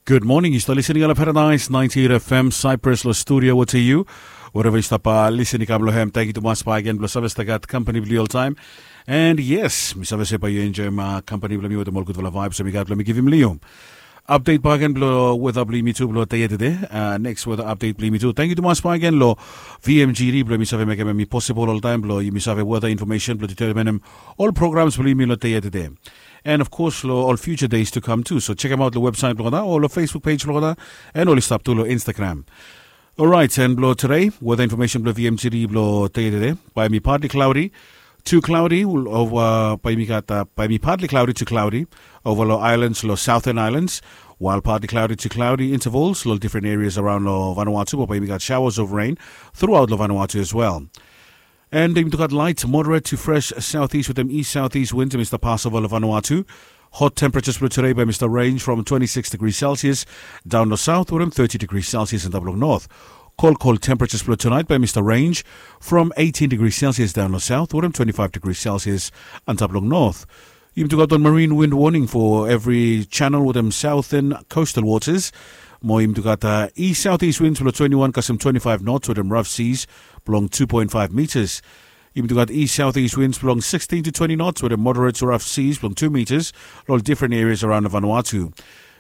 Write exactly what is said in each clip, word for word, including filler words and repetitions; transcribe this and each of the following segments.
Good morning, yu stap listening long Paradise ninety-eight F M Cyprus, long studio wetem yu. Wherever yu stap listening, kam long hem. Thank you tumas back again blong save stap gat company blong yu oltaem. And yes, mi save se bae yu enjoem company blong mi wetem ol gudfala vibes we mi gat blong mi givim long yu. Update back again blong weather blong yumi tu blong dei ya tede. Next weather update blong yumi tu. Thank you tumas back again long V M G D blong yumi save mekem hem i possible oltaem blong yumi save weather information blong determinem ol programs blong yumi long dei ya tede. And of course long ol future days to come tu. So check out long website blong olgeta o long Facebook page blong olgeta, and oli stap tu long Instagram. Alright, and blong today weather information blong V M G D blong dei ya tede. Bae mi partly cloudy to cloudy ova, bae mi gat bae mi partly cloudy to cloudy ova long islands, long southern islands, while partly cloudy to cloudy intervals long different areas around long Vanuatu, bae mi gat showers of rain throughout long Vanuatu as well. And yumi tu gat light moderate to fresh southeast wetem east southeast winds we mi stap pas ova long Vanuatu. Hot temperatures blong today bae mi stap range from twenty-six degrees Celsius daon long south wetem thirty degrees Celsius antap long north. Cold cold temperatures blong tonight bae mi stap range from eighteen degrees Celsius daon long south wetem twenty-five degrees Celsius antap long north. Yumi tu gat wan marine wind warning for every channel wetem southern coastal waters. Mo yumi tu gat east southeast winds blong twenty-one kasem twenty-five knots wetem rough seas blong two point five meters. Yumi tu gat east southeast winds blong sixteen to twenty knots wetem moderate to rough seas blong two meters long different areas around Vanuatu.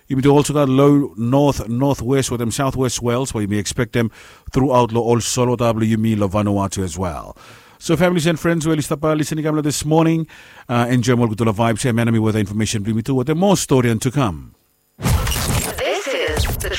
Yumi tu also gat low north northwest wetem southwest swells we yumi expectem throughout long ol solwota blong yumi long Vanuatu as well. So families and friends we oli stap listening kam long this morning, enjoem ol gudfala vibes ya. Manami weather information blong yumi tu wetem more story and to come. This is the